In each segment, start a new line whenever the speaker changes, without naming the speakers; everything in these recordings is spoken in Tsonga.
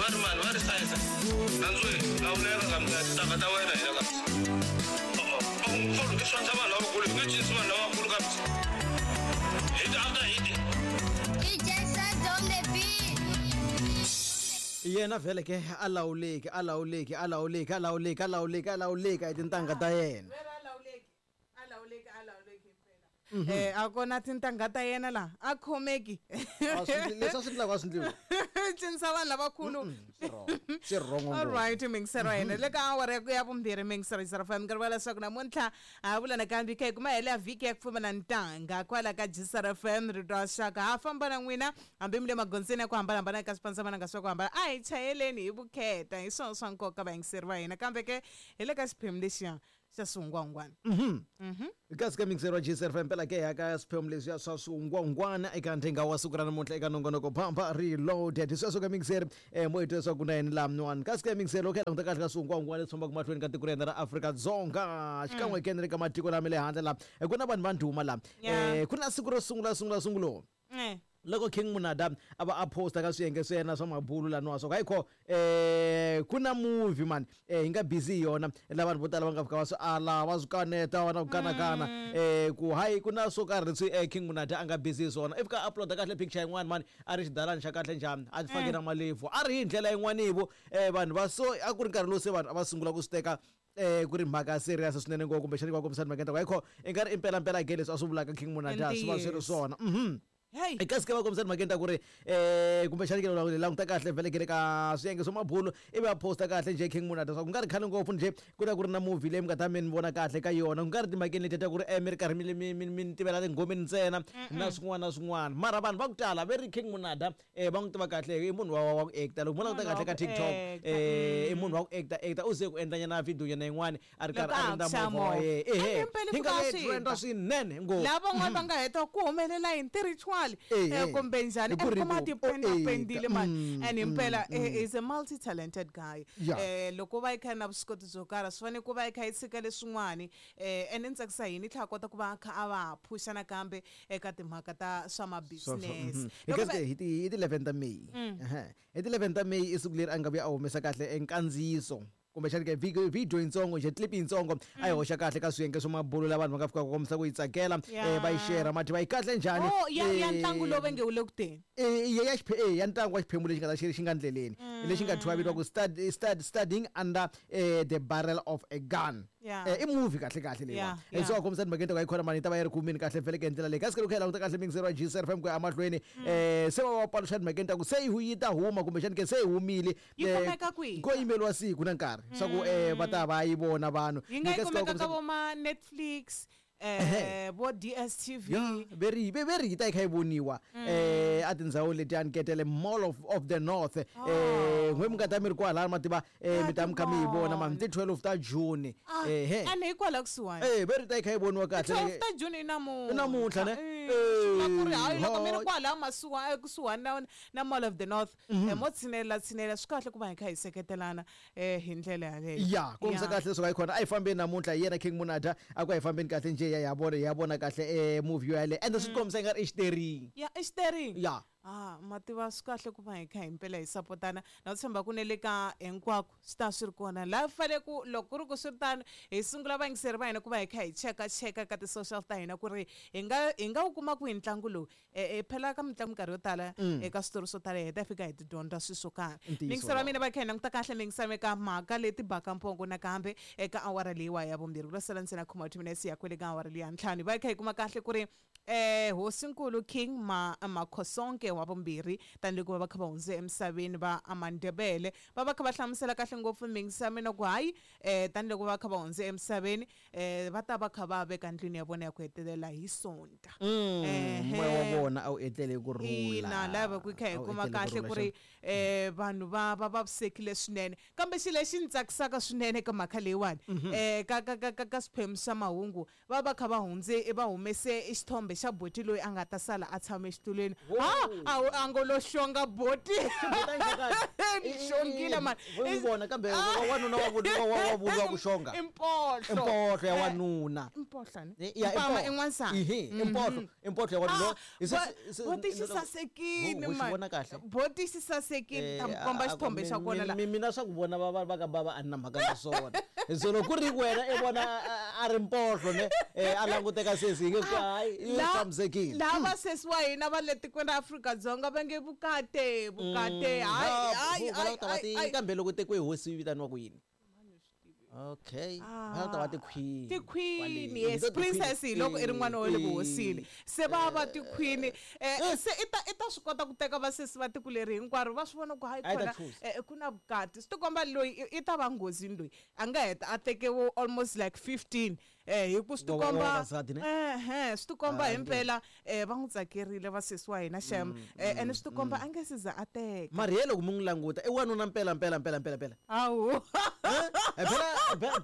Va ri mani va ri sayisa. Nandzweni, lawuleka ka mina tintangha ta wena hina ka. Oh, oh, oh, ke swantsha vanhu lavakulu, hi nge cinisi vanhu lavakulu ka. Hit after hit.
DJ Saz on the beat.
Yena vhele ke a lawuleki, a lawuleki, a lawuleki, a lawuleki, a lawuleki, a lawuleki hi tintangha ta yena.
Vera a lawuleki, a lawuleki, a lawuleki himpela. A kona tintangha ta yena la a khomeki.
A swi leswi a swi endlaka a swi endliwi.
Cinisa vanhu lavakulu.
Swi wrong. Swi wrong
All
ngopfu.
right, mingisero hina le ka awara ya vumbirhi mingisero yi fm nkarhi wa leswaku namuntlha ha vula nakambe kha hi kuma hela vhiki ya ku pfumala ntanga kwala ka Gsr FM rito ra xaka ha famba na n'wina hambi mi le magondzweni ya ku hambanahambana eka swipandzamananga swa ku hambana a hi chayeleni hi vukheta hi swona swa nkoka vayingiseri va hina kambe ke hi le ka xiphemu lexiya xa swihungwahungwana.
Kasi ka mixer wa GSR FM mpela ke ya ka swiphemu leswiya swa swihungwahungwana eka nthenga wa siku ra namuntlha eka nongonoko Pampa Reloaded. Sweswo ka mixer mo hi twa leswaku na yini laha mn'wana. Kasi ka mixer loko hi languta kahle ka swihungwahungwana leswi fambaka mahlweni ka tiko ra hina ra Afrika-Dzonga xikan'we ke na le ka matiko lama le handle laha ku na vanhu va ndhuma laha. Ku na siku ro sungula sungula sungulo. Loko King Monada a va a posta ka swiyenge swa yena swa mabulu laniwa swa ku hayi kho ku na movie man hi nga busy hi yona la vanhu vo tala va nga fika va swi ala va swi kaneta va na ku kanakana ku hayi ku na swo karhi leswi King Monada a nga busy hi swona i fika a uploada kahle picture yin'wana mani a ri xidalani xa kahle njhani a fake na malevhu a ri hi ndlela yin'wani vo vanhu va so a ku ri nkarhi lowu se vanhu a va sungula ku swi teka ku ri mhaka ya serious swinene ngopfu kumbexani va kombisa timhaka ta ku hayi kho i nga ri impela mpela ke leswi a swi vulaka King Monada swi va swi ri swona.
Hey.
Kasi ke va kombisa timhakeni ta ku ri kumbexani ke languta kahle vhele ke le ka swiyenge swa mabulu ivi va posta kahle njhe King Monada swa ku nga ri khale ngopfu njhe ku ta ku ri na movie leyi mi nga ta mi ni vona kahle ka yona ku nga ri timhakeni letiya ta ku ri mi ri karhi mi mi mi mi ni tivela tinghomeni ntsena na swin'wana na swin'wana mara vanhu va ku tala ve ri King Monada va n'wi tiva kahle i munhu wa ku actor loko mo languta kahle ka TikTok i munhu wa ku actor actor u ze ku endla nyana video nyana yin'wani a ri karhi a
Loko a
rindza
ha ku
movha wa
xa
yena
movha.
ehe
A ni
hi
impela
nga
fika
ve
a swi
trenda
ba.
swinene ngopfu.
Lava van'wana va nga heta ku humelela yini ti-ritual kumbe njhani
Hi ku
and
ri
kuma
ku
ti penda-pendile mani and himpela is a multi-talented guy. Loko va yi kha na vuswikoti byo karhi swi fanele ku va yi kha yi tshika leswin'wani and ni tsakisa yini i tlhela a kota ku va a kha a va phusha nakambe eka timhaka ta swa ma-business.
Hi
Loko
kasi
va
hi ti hi ti 11 ta May. Hi ti 11 ta May i siku leri a nga vuya a humesa kahle nkandziyiso kumbexani ke video video yintsongo nje clip yintsongo a yi hoxa kahle ka swiyenge swa mabulu la vanhu va nga fika ku kombisa ku yi tsakela va yi share mati va yi kahle njhani.
Oh ya ntlangu lowu va nge wu le ku teni.
Ya ya ntlangu wa xiphemu lexi nga ta xi xi nga ndleleni lexi nga thyiwa vito ku studying under the barrel of a gun. I movie kahle kahle leyiwa. So a kombisa timhakeni ta ku yi khona mani yi ta va yi ri kumini kahle vhele ke ndlela leyi kasi ke loko hi languta kahle mingisero wa GCR FM ku ya emahlweni se va va paluxa timhakeni ta ku se yi ta huma kumbexani ke se yi humile
Yi kumeka kwihi?
Ko yimeriwa siku na nkarhi swa ku va ta va yi vona vanhu.
Yi nga yi
Ni kasi ka
kumeka ka
kombisa
vo ma Netflix vo DSTV.
Ya, ve ri yi ta yi kha yi voniwa a tindhawu letiyani ketele Mall of the North. N'we mi nga ta mi ri kwalano ma tiva mi ta mi kha mi yi vona mani ti 12 ta June.
And hikwalaho kusuhani.
Ve ri ta yi kha yi voniwa kahle.
12 ta June i namuntlha.
I namuntlha ne?
Swi vula ku ri hayi loko mi ri kwalaho masuwa ekusuhani na Mall of the North mo tshinela tshinela swi kahle ku va hi kha hi seketelana hi ndlela yaleyo.
Ya, kombisa kahle leswaku a yi kona a yi fambeni namuntlha hi yena King Monada a ku a yi fambeni kahle njhe ya vona ya vona kahle movie yaleyo ende swi kombisa i nga ri i xiteringi.
Ya i xiteringi.
Ya.
Mativa swi kahle ku va hi kha himpela hi sapotana na ku tshemba ku ne le ka hinkwako swi ta swi ri kona laha fanele ku loko ku ri ku swi ri tano hi sungula vayingiseri va hina ku va hi kha hi cheka cheka ka ti-social ta hina ku ri hi nga wu kuma kwihi ntlangu lowu. Phela ka mitlangu minkarhi yo tala eka switori swo tala hi heta hi fika hi ti dyondza swilo swo karhi.
Ntiyiso
Mingiseri wa
wolowo.
mina va kha hi languta kahle mingiseri eka mhaka leti baka mpongo nakambe eka awara leyiwa ya vumbirhi ku lo sala ntsena khoma 2 minutes ya kwele ka awara leyi ya ntlhanu va kha hi kuma kahle ku ri Hosinkulu King Makhosonke wa vumbirhi tanihiloko va kha va hundze emisaveni va Amandebele va va kha va hlamusela kahle ngopfu mingiseri mina ku hayi tanihiloko va kha va hundze emisaveni va ta va kha va veka ndlwini ya vona ya ku hetelela hi Sonta.
Moya wa vona a wu etlele ku rhula.
Ina, lava ku kha hi
A wu
kuma
etlele ku
kahle
rhula,
ku ri vanhu va vavisekile swinene kambe xilo lexi ni tsakisaka swinene eka mhaka leyiwani ka ka ka ka ka swiphemu swa mahungu va va kha va hundze va humese xithombe xa boti loyi a nga ta sala a tshame exitulwini. Ha, a ngo lo xonga boti. Ni xongile mani.
Vo vona kambe wanuna wa wa vuriwa ku xonga.
Impohlo.
Impohlo ya wanuna.
Impohlo ne?
Ya,
Mpama
impohlo.
i n'wansati.
Ihi, impohlo, impohlo ya wanuna.
Boti xi sasekile
Ho- ho xi
mani.
vona kahle.
Boti xi sasekile ta mi komba xithombe xa kona la.
Mina swa ku vona va ka bava a ni na mhaka na swona. So loko ku ri wena i vona a ri mpohlo ne, a languteka sesi hi nge ku hayi yi tshamisekile.
Laha vasesi wa hina va le tikweni ra Afrika-Dzonga va nge vukate vukate hayi hayi
Va lava ku ta va
hayi hayi.
kambe loko tekiwe hi hosi yi vitaniwa ku yini? Okay, va lava ku ta va ti-queen.
Tiqueen,
Kwale.
yes.
Hi to ti-queen.
Princess hi loko i ri n'wana wa le vuhosini, se va va tiqueen, se i ta swi kota ku teka vasesi va tiko leri hinkwaro va swi vona ku hayi
A yi ta
khona
choose.
Ku na vukati. Swi tikomba loyi i ta va nghozini loyi a nga heta a teke vo almost like 15, hi ku swi
Wa- wa- wa
tikomba
vavasati ne?
ehe, swi tikomba
Ah,
himpela, va n'wi tsakerile vasesi wa hina xem, ene swi tikomba a nge se za a teka.
Mara ye loko mi n'wi languta i wanuna mpela mpela mpela mpela mpela.
Hawu.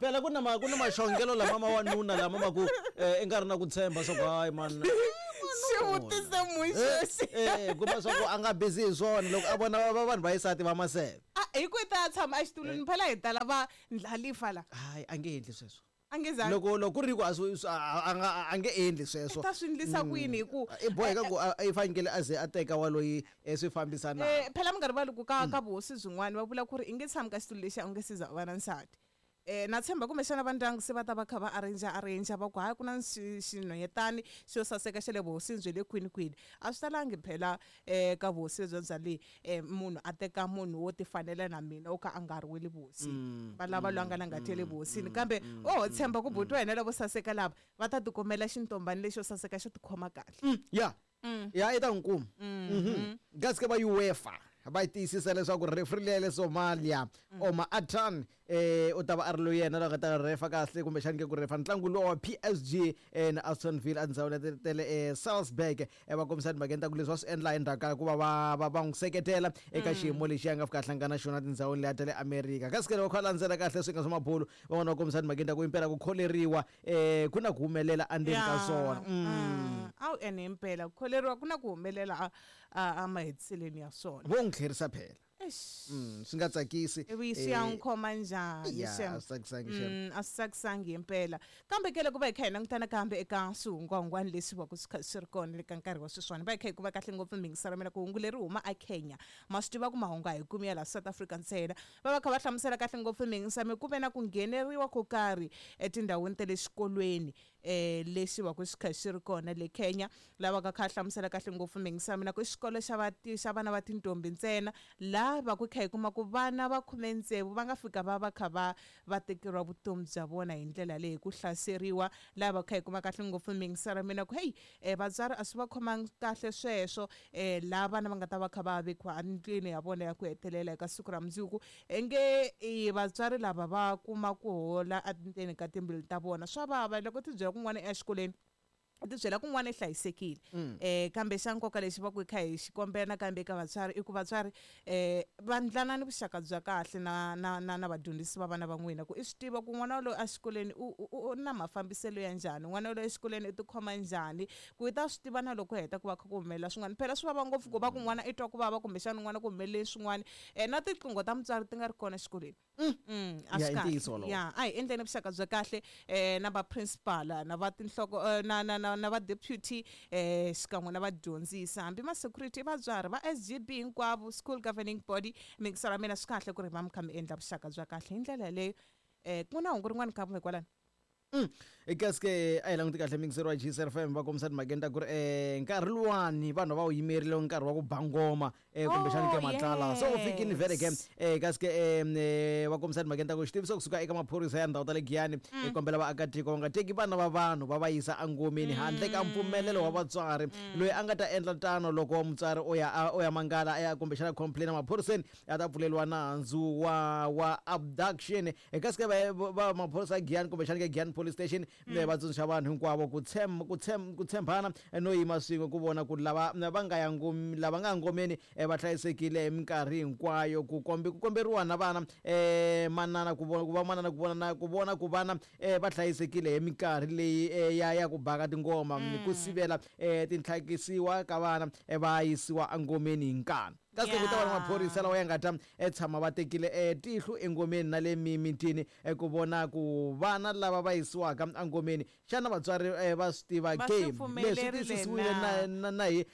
Phela ku na maxongelo lama ma wanuna lama ma ku i nga ri na ku tshemba swa ku hayi man.
Xivutiso muxexi.
Kuma swa ku a nga busy hi swona loko a vona vanhu va xisati va maseve.
Ah, hi ku i ta ya tshama exitulwini phela hi tala va ndlhalifa la.
Hayi, a nge endli sweswo.
A nge zangi.
Loko ku ri ku a swi a nga a nge endli sweswo.
I ta swi endlisa ku yini hi ku
I boheka ku i fanekele a ze a teka wa loyi swi fambisanaka.
Phela mi nga rivali ku ka vuhosi byin'wana va vula ku ri i nge tshami ka xitulu lexi a u nge se za u va na nsati. Na tshemba kumbexana va ndyangu se va ta va kha va arrange va ku hayi ku na xinhwanyetani xo saseka xa le vuhosini bya le kwini kwini. A swi talangi phela ka vuhosi byo bya le, munhu a teka munhu wo tifanela na mina wo ka a nga ri we le vuhosini. Va lava loyi a nga na ngati ya le vuhosini, kambe o ho tshemba ku buti wa hina lavo saseka lava va ta tikumela xintombani lexo saseka xo tikhoma kahle.
Ya ya, i ta n'wi kuma. Kasi ke va UEFA va yi tiyisisa leswaku referee leya le Somalia, Omar Atan, u ta va a ri loyi yena loyi a nga ta refa kahle kumbexani ke ku refa ntlangu lowa wa PSG na Aston Villa endzhawini ya tele Salzburg. Va kombisa timhakeni ta ku leswi va swi endla endzhaku ka ku va va n'wi seketela eka xiyimo lexi a nga fika a hlangana na xona tindhawini leya ta le America. Kasi ke loko kha landzela kahle swi nga swa mabulu, van'wana va kombisa timhakeni ta ku impela ku kholeriwa ku na ku humelela endzeni ka swona.
A wu ene himpela ku kholeriwa ku na ku humelela a mahetiseleni ya swona.
Vo n'wi tlherisa phela.
Eish.
Swi nga tsakisi.
Ivi swi ya n'wi khoma njhani
Ya,
xem?
a swi tsakisangi xem.
A swi tsakisangi himpela, kambe ke loko va hi kha hi langutana kambe eka swihungwahungwani leswi va ku swi kha swi ri kona le ka nkarhi wa sweswiwani, va hi kha hi kuva kahle ngopfu mingiselo mina ku hungu leri huma a Kenya. Ma swi tiva ku mahungu a hi kumi ya laha South Africa ntsena. Va va kha va hlamusela kahle ngopfu mingiselo ku ve na ku ngheneriwa ko karhi etindhawini ta le xikolweni, lexi va ku xi kha xi ri kona le Kenya. Lava ka kha hlamusela kahle ngopfu mingiselo mina ku i xikolo xa xa vana va tintombi ntsena, laha va ku kha hi kuma ku vana va 16 va nga fika va va kha va tekeriwa vutomi bya vona hi ndlela leyi ku hlaseriwa. Laha va kha hi kuma kahle ngopfu mingiselo mina ku hey, vatswari a swi va khomangi kahle sweswo, laha vana va nga ta va kha va vekiwa endlwini ya vona ya ku hetelela eka siku ra mundzuku. Nge vatswari lava va kuma ku hola endzeni ka timbilu ta vona, swa vava loko ti byela kun'wana exikolweni, u ti byela kun'wana i hlayisekile. Kambe xa nkoka lexi va ku hi kha hi xi kombela nakambe eka vatswari i ku vatswari va ndlana ni vuxaka bya kahle na vadyondzisi va vana va n'wina, ku i swi tiva ku n'wana loyi exikolweni u na mafambiselo ya njhani, n'wana loyi exikolweni i tikhoma njhani, ku i ta swi tiva na loko heta ku va kha ku humelela swin'wana. Phela swi vava ngopfu ku va ku n'wana i twa ku vava kumbexana n'wana ku humelele swin'wana, na tiqingho ta mutswari ti nga ri kona exikolweni. A
Ya,
swi
i
kahle.
ntiyiso wolowo.
Ya, a hi endleni vuxaka bya kahle na va principal na va tinhloko, na va deputy, xikan'we na vadyondzisi, hambi ma security, vatswari va SGB hinkwavo, school governing body. Mingiselo ya mina swi kahle ku ri va mi kha mi endla vuxaka bya kahle hi ndlela yaleyo. Ku na hungu rin'wana ka kwalano.
Kasi ke a hi languti kahle mingiseri wa GCFM va kombisa timhakeni ta ku ri nkarhi luwani vanhu va wu yimerile nkarhi wa ku ba ngoma, kumbexani ke
Oh,
matlala so ku fikini vhele ke.
yes.
Kasi ke va kombisa timhakeni ta ku xitiviso kusuka eka maphorisa ya ndhawu ta le Giyani, hi kombela vaakatiko va nga teki vana va vanhu va va yisa engomeni handle ka mpfumelelo wa vatswari. Loyi a nga ta endla tano loko mutswari o ya mangala a ya kumbexana complain emaphoriseni, a ta pfuleriwa nandzu wa abduction. Kasi ke va maphorisa ya Giyani kumbexani ke Giyani Police Station va tsundzuxa vanhu hinkwavo ku tshembana no yima swin'we ku vona ku lava va nga ya lava nga ngomeni va hlayisekile hi minkarhi hinkwayo. Ku komberiwa na vana, manana ku vona ku va manana ku vona na ku vona ku vana va hlayisekile hi minkarhi leyi ya ku baka tingoma, ku sivela tintlhakisiwa ka vana va yisiwa engomeni hi nkani. Kasi ku ta va na
Yeah.
maphorisa lawa ya nga ta tshama va tekile tihlo engomeni na le mimitini ku vona ku vana lava va yisiwaka engomeni xana vatswari va swi tiva
Va
ke?
swi
Leswi
pfumelerile
tiyisisiwile
na?
na hi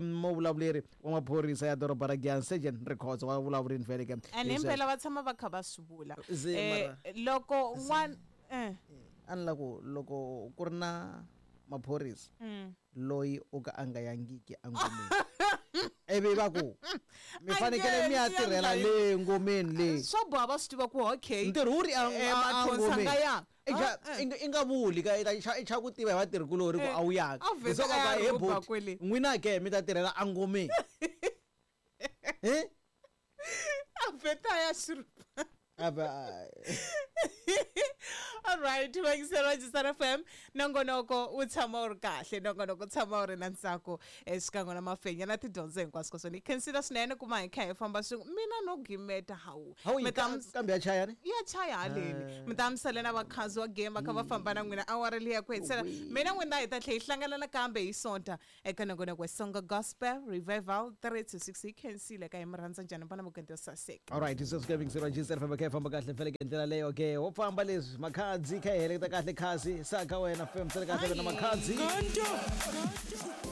muvulavuleri wa maphorisa ya doroba ra Giyani, Sergeant Rikhotso wa vulavurini vhele ke.
And
Hi sweswo.
himpela va tshama va kha va swi vula.
Ze, mara-
Loko n'wana
A ni la ku loko ku ri na maphorisa loyi o ka a nga yangiki engomeni, ivi va ku mi
A
fanekele mi ya
nge
tirhela
endli.
le ngomeni le,
Swo boha va swi tiva ku okay,
ntirho wu ri
mathonsi a nga yanga. Ah, eh.
I nga vuli ka i xa ku tiva hi vatirhikulori ku
Eh,
a wu yanga.
a vheta a ya
he
rhuba
boti
kwele.
n'wina ke mi ta tirhela engomeni. Eh?
A vheta a ya xirhupa.
Ava-
Alright, vayingiseri va Jisara FM, nongonoko wu tshama wu ri kahle, nongonoko wu tshama wu ri na ntsako xikan'we na mafenya na tidyondzo hinkwaswo ka swona. Hi khensile swinene ku ma hi kha hi famba swin'we, mina no gimeta hawu.
Hawu
Mi ta
kambe ya chaya ni
ya chaya haleni, mi ta misale na vakhanzi wa game va kha va famba na n'wina awara leyi ku hetisela. Mina n'wina hi ta tlhela hi hlangana nakambe hi Sonta eka nongonoko wa Songa Gospel Revival 3 to 6. Hi khensile ka hi mi rhandza njhani, vana mugende yo saseka.
Alright, sweswi ka yingiseriwa Jisara FM, kha hi famba kahle fele ke ndlela leyo ke wo famba leswi makhadzi kha hi heleketa kahle khasi saka wena fm sele kahle wena makhadzi.
Kanto.